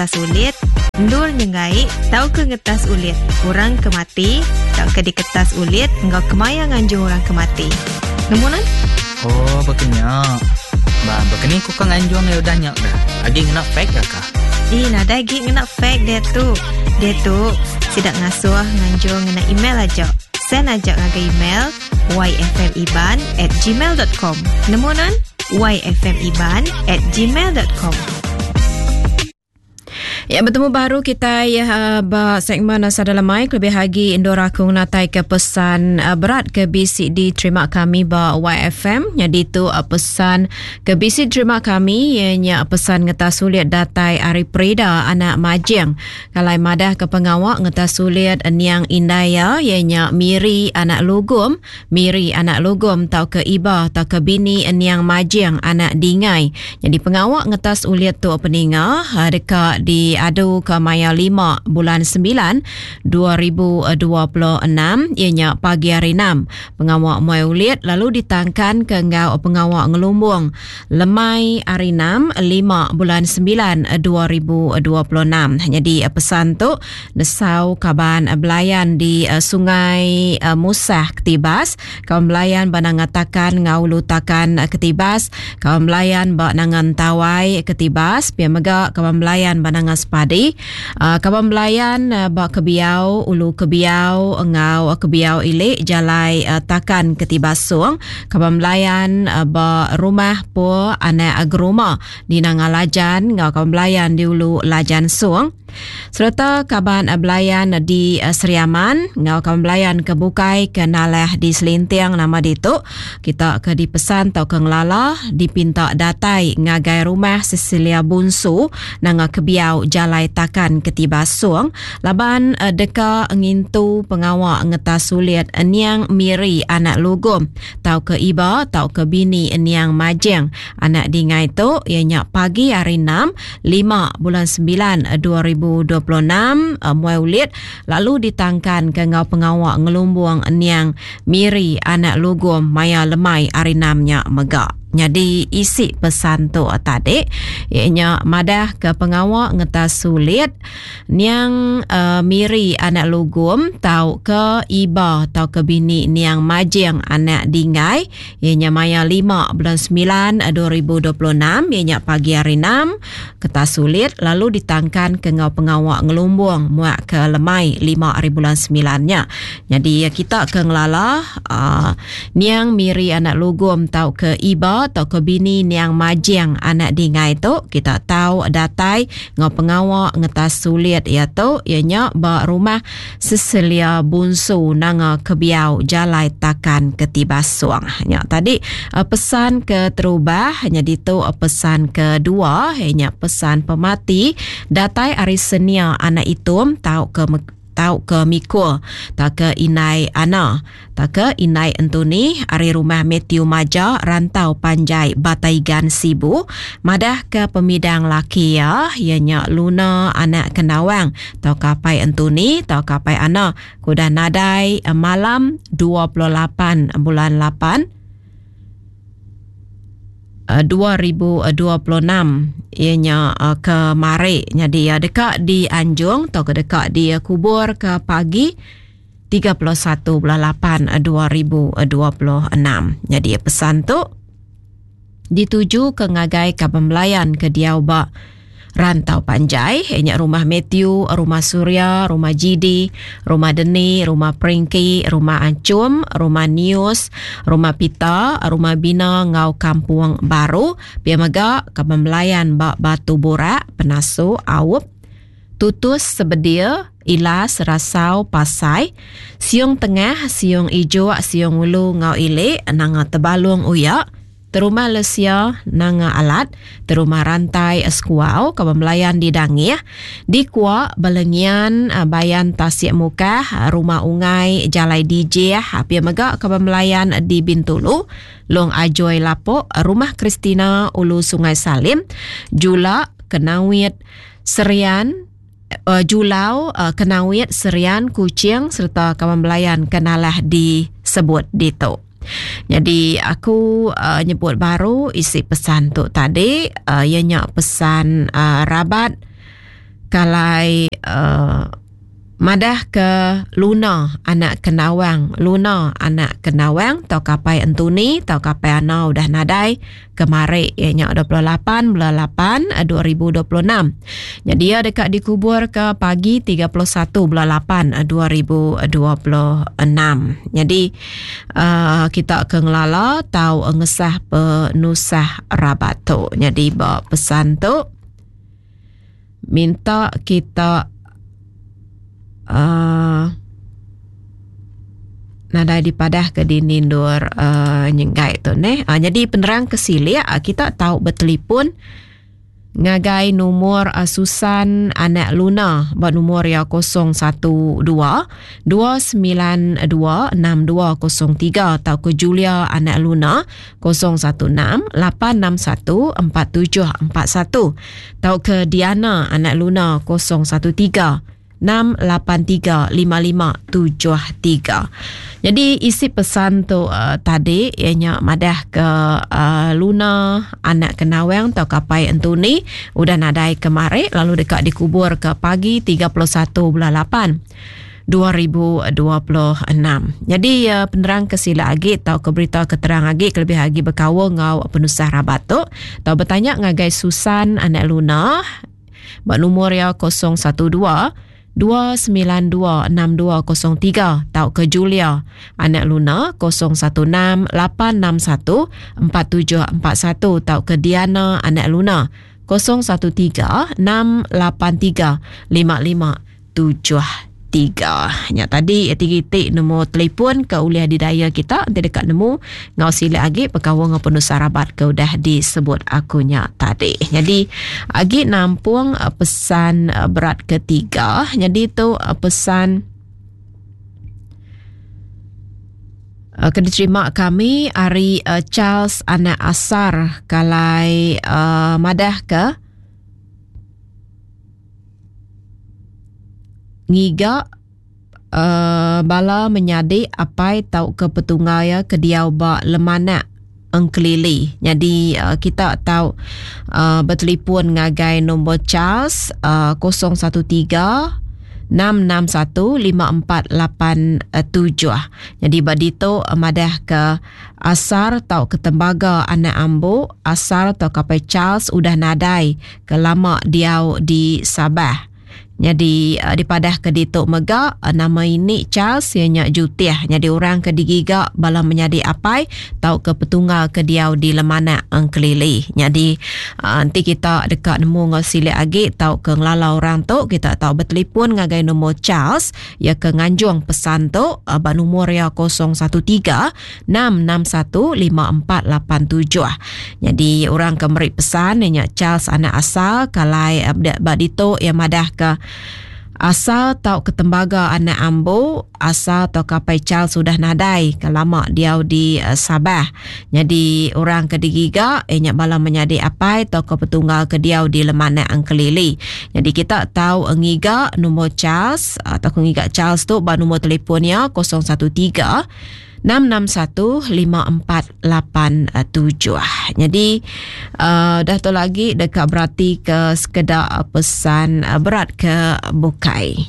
ngetas ulit, endur nyenggai tauka ngetas ulit orang ke mati tauka diketas ulit enggau kemaya nganjung orang ke mati. Nemu nuan? Oh, baka nya. Ba, baka ni ku ka nganjung iya udah nya dah. Agi ngena fax ga kah? Ih, nadai agi ngena fax diatu. Diatu, sida ngasuh nganjung ngena email aja. Send aja ngagai email yfmiban at gmail dot com. Nemu nuan? yfmiban at gmail dot com. Ya betemu baru kita ya ba segmen Sada Lemai kelebih agi endur aku ngenatai ke pesan uh, berat ke bisi diterima kami ba YFM. Jadi tu uh, pesan ke bisi diterima kami ianya pesan ngetas sulit datai ari Prida anak Majing. Kalai madah ke pengawa ngetas sulit niang indai iya ianya Miri anak Lugum, Miri anak Lugum tauka Iba tauka bini niang Majing anak Dingai. Nyadi pengawa ngetas ulit tu peninga deka diadu ke maya lima bulan sembilan 2026 iya nya pagi hari enam. Pengawa muai ulit lalu ditangkan ke enggau pengawa ngelumbung lemai hari enam lima bulan sembilan 2026. Nyadi pesan tu nesau kaban belayan di Sungai Musah Ketibas, kaban belayan ba Nanga Takan enggau Ulu Takan Ketibas, kaban belayan ba Nanga Entawai Ketibas, pia mega kaban belayan ba Nanga Sepadi, kaban belayan ba Kebiau, Ulu Kebiau enggau Kebiau Ili Jalai Takan Ketibas Song, kaban belayan ba Rumah Pur Anak Geruma di Nanga Lajan enggau kaban belayan di Ulu Lajan Song. Sereta kaban belayan di Sri Aman enggau kaban belayan ke bukai ke nalah di Selinting nama ditu, kita ke dipesan tauka ngelala dipinta datai ngagai Rumah Cecilia Bunsu nanga Kebiau Jalai Takan Ketibas Song laban deka ngintu pengawa ngetas sulit niang Miri anak Lugum tauka Iba tauka bini niang Majing anak Dingai tu iya nya pagi hari enam lima bulan sembilan 2026 muai ulit lalu ditangkanka enggau pengawa ngelumbung niang Miri anak Lugum maya lemai hari enam nya mega. Nyadi isi pesan tu tadi iya nya madah ke pengawa ngetas sulit niang uh, Miri anak Lugum tauka Iba tauka bini niang Majing anak Dingai Iya nya maya lima bulan semilan 2026 iya nya pagi hari enam ketas sulit lalu ditangkan ke enggau pengawa ngelumbung muak ke lemai lima hari bulan semilan nya. Nyadi kita ke ngelala uh, niang Miri anak Lugum tauka Iba tauka bini niang Majing anak Dingai tu kita tau datai enggau pengawa ngetas sulit iya tu iya nya ba rumah Cecilia Bunsu Nanga Kebiau Jalai Takan Ketibasung. Nya tadi eh, pesan ke terubah nya ditu eh, pesan kedua nya pesan pemati datai ari Senia anak Itum tau ke tau ke Mikul tau ke Indai Ana tau ke Indai Entuni ari rumah Matthew Maja Rantau Panjai Bataigan Sibu madah ke pemidang laki iya iya nya Luna anak Kendawang tauka apai Entuni tauka apai Ana ke udah nadai malam 28 bulan 8 2026 iya nya kemari nyadi iya deka dianjung tauka deka dikubur ke pagi 31 bulan 8 2026. Nyadi pesan tu dituju ke ngagai kaban belayan ke diau ba Rantau Panjai, iya nya Rumah Matthew, Rumah Surya, Rumah Jidi, Rumah Deni, Rumah Pringki, Rumah Anchum, Rumah Nius, Rumah Pita, Rumah Bina enggau Kampung Baru. Pia mega kaban belayan ba Batu Burak, Penasu, Aup, Tutus Sebedil, Ilas, Rasau, Pasai, Siung Tengah, Siung Ijok, Siung Ulu enggau Ili, Nanga Tebalung Uya, Terumah Lesia, Nanga Alat, Terumah Rantai Sekuau, Kaban Belayan di Dangih, di Kuak, Belengian, Bayan Tasik Mukah, Rumah Ungai, Jalai Dijih, pia mega Kaban Belayan di Bintulu, Long Ajoi Lapok, Rumah Christina, Ulu Sungai Salim, Jula, Kenawit, Serian, Julau, Kenawit, Serian, Kuching sereta kaban belayan ke nalah disebut ditu. Nyadi aku uh, nyebut baru isi pesan tu tadi uh, iya nya pesan uh, rabat. Kalai uh, madah ke Luna anak Kendawang, Luna anak Kendawang tau kapai Entuni tau kapai Ana udah nadai kemari iya nya 28 bulan 8 2026. Jadi iya deka dikubur ke pagi 31 bulan 8 2026. Jadi uh, kita ke ngelala tau ngesah penusah rabat tu. Jadi ba pesan tu minta kita uh, nadai dipadah ke dini endur uh, nyenggai tu neh. Uh, jadi penerang ke silik uh, kita tau bertelefon ngagai numur uh, Susan anak Luna ba numur ya 012 292 6203 tau ke Julia anak Luna 016 861 4741 tauka Diana anak Luna 013 683 5573. Jadi isi pesan tu uh, tadi iya nya madah ke uh, Luna anak Kenawang tauka Apai Entuni udah nadai kemari lalu deka dikubur ke pagi 31 bulan 8. 2026. Jadi uh, penerang ke sila agi atau ke berita ke terang agi kelebih agi berkaul ngau penusah rabat tu tau bertanya ngagai Susan anak Luna ba nomor ya 012 292 6203 tau ke Julia anak Luna 016 861 4741 tau ke Diana anak Luna 013 683 55 73. Nya tadi tiga iti nombor telefon ke ulih didaya kita enti deka nemu ngau silik agi bekaul enggau penusah rabat ke udah disebut aku nya tadi. Nyadi agi nampung eh, pesan eh, berat ketiga. Nyadi tu eh, pesan ke diterima kami ari Charles Anak Asar kalai madah ke Ngiga uhh bala menyadi apai tauka petunggal iya ke diau ba Lemanak Engkelili. Nyadi uhh kita tau uhh betelipon ngagai nombor Charles uhh 013 661 5487. Nyadi ba ditu madah ke Asar tauka Tembaga anak ambu Asar tauka apai Charles udah nadai ke lama diau di Sabah. Nyadi dipadah ke ditu mega nama ini Charles iya nya Jutih nyadi orang ke digiga bala menyadi apai tauka petunggal ke diau di Lemanak Engkelili. Nyadi enti kita deka nemu enggau silik agi tauka ngelala orang tu kita tau betelefon ngagai nombor Charles iya ke nganjung pesan tu ba nomor iya 013 661 5487. Nyadi orang ke meri pesan iya nya Charles anak Asa kalai ba ditu iya madahka Asa tauka Tembaga anak Ambu, Asa tauka apai Charles udah nadai ke lama diau di Sabah. Nyadi orang ke digiga iya nya bala menyadi apai tauka petunggal ke diau di Lemanak Engkelili. Nyadi kita tau ngiga nombor Charles tauka ngiga Charles tu ba nombor telefon iya 013 6615487. Nyadi uh, dah tu lagi deka berati ke sekeda pesan uh, berat ke bukai.